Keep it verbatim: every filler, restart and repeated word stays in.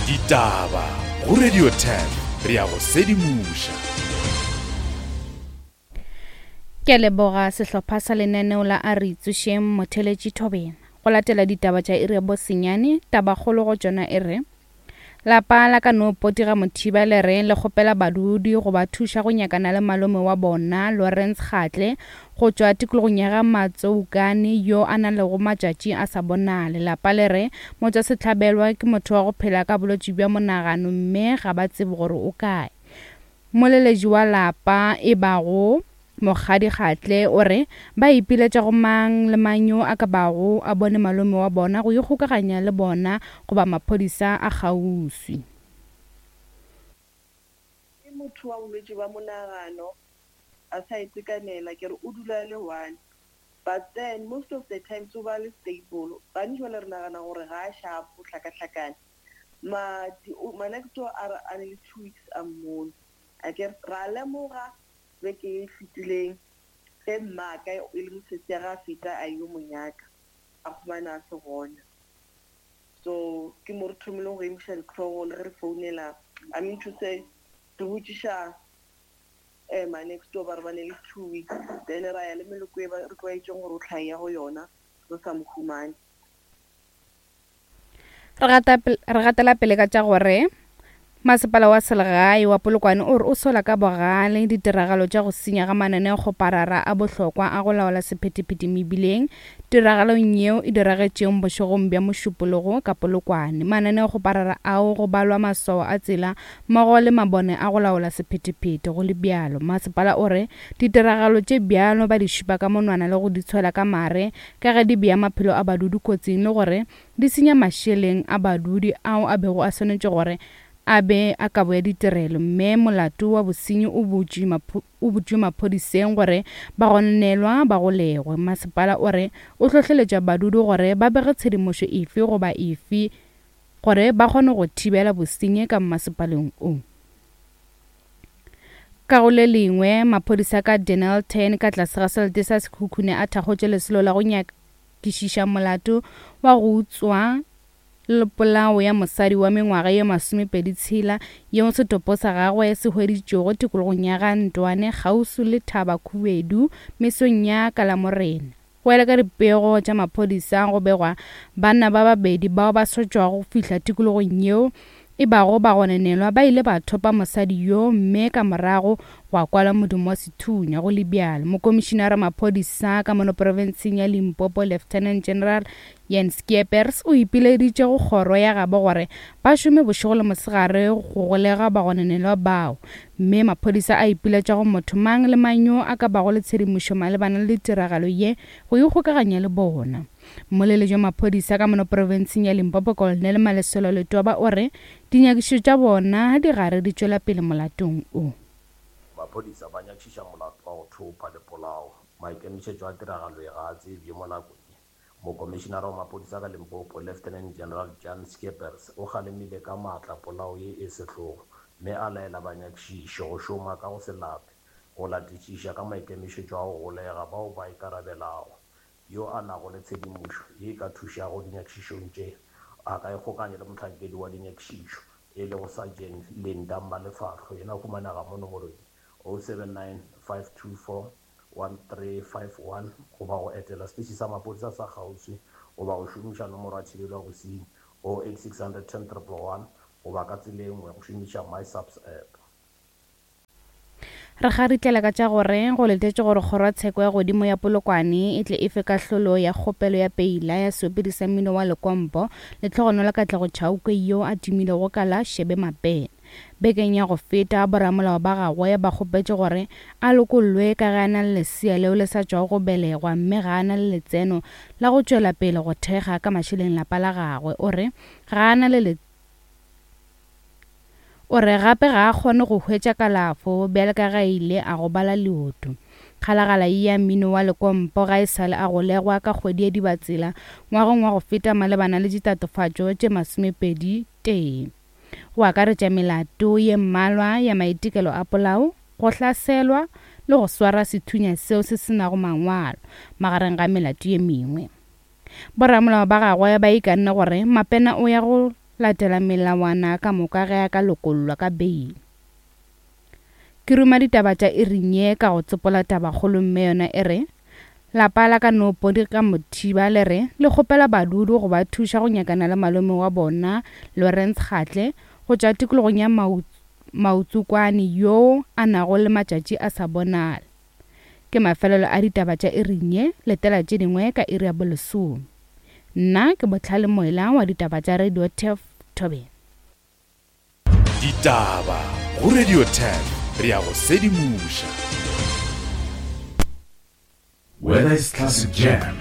Ditaba go Radio ten re ya go sedimoša. Ke a leboga sehlopha sa lenaneo la A Re Itsošeng Motheletši Thobela. Go latela ditaba tša iri ya bosenyane, tabakgolo go tšona e re lapa la ka no potiga Mothiba le re le kgopela badudi go ba thuša go nyakana le malome wa bona Lawrence Kgatle go tšwa tikologong ya ga Matsoukane yo a na lego matšatši a sa bonale. Lapa le re motšwasehlabelwa ke motho wa go phela ka bolwetši bja monagano mme ga ba tsebe gore o kae. Moleletši wa lapa e bago Mokgadi Kgatle o re ba ipiletša go mang le mang yo a ka bago a bone malome wa bona go ikgokaganya le bona goba maphodisa a kgauswi. Ke motho wa bolwetši bja monagano a sa itekanela, ke re o dula le one, but then most of the times o ba le stable. Gantši jwale re nagana gore ga a sharp, o hlakahlakane. Ma ma next door a re a ne le two weeks a mmone. A ke ra lemoga beke e fetileng ge mmaka e le mosesi ya ga a feta a yo mo nyaka, a fumana a se gona. So ke mo re thomileng go emiša ditlhogo le ge re founela, I mean to say re botšiša eh ma next door ba re ba ne le two weeks, then ra ya le meloko e ba re tlwaetšeng gore o tlhae ya go yona re sa mo humane. Re gatela pele ka tša gore masepala wa selegae wa Polokwane o re o sola ka bogale ditiragalo tša go senya ga mananeokgoparara a bohlokwa a go laola sephethephethe mebileng tiragalong yeo e diragetšeng bošegong bja Mošupologo ka Polokwane. Mananeokgoparara ao go balwa maswao a tsela mmogo le mabone a go laola sephethephethe. Go le bjalo, masepala o re ditiragalo tše bjalo ba di šupa ka monwana le go di tshwela ka mare ka ge di bea maphelo a badudi kotsing le gore di senya mašeleng a badudi ao a bego a swanetše gore a be a kabo ya ditirelo, mme molato wa bosenyi o butšwe maphodiseng gore ba gononelwa ba golegwe. Masepala o re o hlohleletša badudi gore ba bege tshedimošo efe goba efe gore ba kgone go thibela bosenyi ka mmasepaleng o. Ka go le lengwe, maphodisa ka Dennilton ka tlase ga selete sa Sekhukhune a thakgotše lesolo la go nyakišiša molato wa go utswa le polao ya mosadi wa mengwaga ye masomepedi tshela yeo setopo sa gagwe se hweditšwego tikologong ya ga Ntwane kgauswi le Thaba Khubedu mesong ya Kalamorena. Go ela ka dipego tša maphodisa go begwa banna ba babedi bao ba sa tšwago go fihla tikologong yeo e bago ba gononelwa ba ile ba thopa mosadi yo mme ka morago gwa kwala modumo wa sethunya. Go le bjalo, mokomišinara maphodisa ka mono profenseng ya Limpopo Lieutenant General Jens Skeepers o ipileditše go kgoro ya gabo gore ba šome bošego le mosegare go golega bagononelwa bao, mme maphodisa a ipiletša go motho mang le mang yo a ka bago le tshedimošo malebana le tiragalo ye go ikgokaganya le bona. Mmoleletši wa maphodisa ka mono profenseng ya Limpopo Colonel Maleselo Letoba o re dinyakišišo tša bona di gare di tšwela pele molatong o. Maphodisa ba nyakišiša molato wa go thopa le polao. Maikemišetšo a tiragalo e ga a tsebje mo nakong ye. Mokomišinara wa maphodisa ka Limpopo Lieutenant General Jan Skeepers o kgalemile ka maatla polao ye e sehlogo mme a laela banyakišiši go šoma ka go se lape go latišiša ka maikemišetšo a go golega bao ba ikarabelago. Yo a nago le tshedimošo ye e ka thušago dinyakišišong tše a ka ikgokanya le mohlankedi wa dinyakišišo e lego Sergeant Linda Malefahlo, yena o humanega mo nomorong oh seven nine five two four one three five one goba go etela seteše sa maphodisa sa kgauswi goba go šomiša nomoro ya thibelo ya bosenyi oh eight six hundred ten triple one goba ka tsela e nngwe go šomiša MySAPS app. Re garitlela ka tša gore go letetše gore kgorotsheko ya godimo ya Polokwane e tle e fe kahlolo ya kgopelo ya peila ya seopedi sa mmino wa Lekompo Lehlogonolo Katlego Chauke yo a tumilego ka la Shebe Mapena. Bekeng ya go feta boramolao ba gagwe ba kgopetše gore a lokollwe ka ge a na le lesea leo le sa tšwago go belegwa mme ga a na le letseno la go tšwela pele go thekga ka mašeleng lapa la gagwe. O re ga a na le o re gape ga a kgone go hwetša kalafo bjale ka ge a ile a gobala leoto. Kgalagala ya mmino wa Lekompo ga e sale a golegwa ka kgwedi ya Dibatsela ngwageng wa go feta malebana le ditatofatšo tše masomepedi tee, go akaretša melato ye mmalwa ya maitekelo a polao, go hlaselwa le go swara sethunya seo se se nago mangwalo magareng ga melato ye mengwe. Boramolao ba gagwe ba ikanne gore Mapena o ya go latela melawana ka moka ge a ka lokollwa ka beile. Ke ruma ditaba tša iring ye ka go tsopola tabakgolo mme yona e re lapa la ka Nopodi ka Mothiba le re le kgopela badudi go ba thuša go nyakana le malome wa bona Lawrence Kgatle go tšwa tikologong ya Mautsukwane yoo a nago le matšatši a sa bonale. Ke mafelelo a ditaba tša iring ye, letela tše dingwe ka iri ya bolesome. Nna ke Bohlale Moela wa ditaba tša Radio Turf Thobela. Ditaba go Radio Turf, re ya go sedimoša. Whether it's classic jam,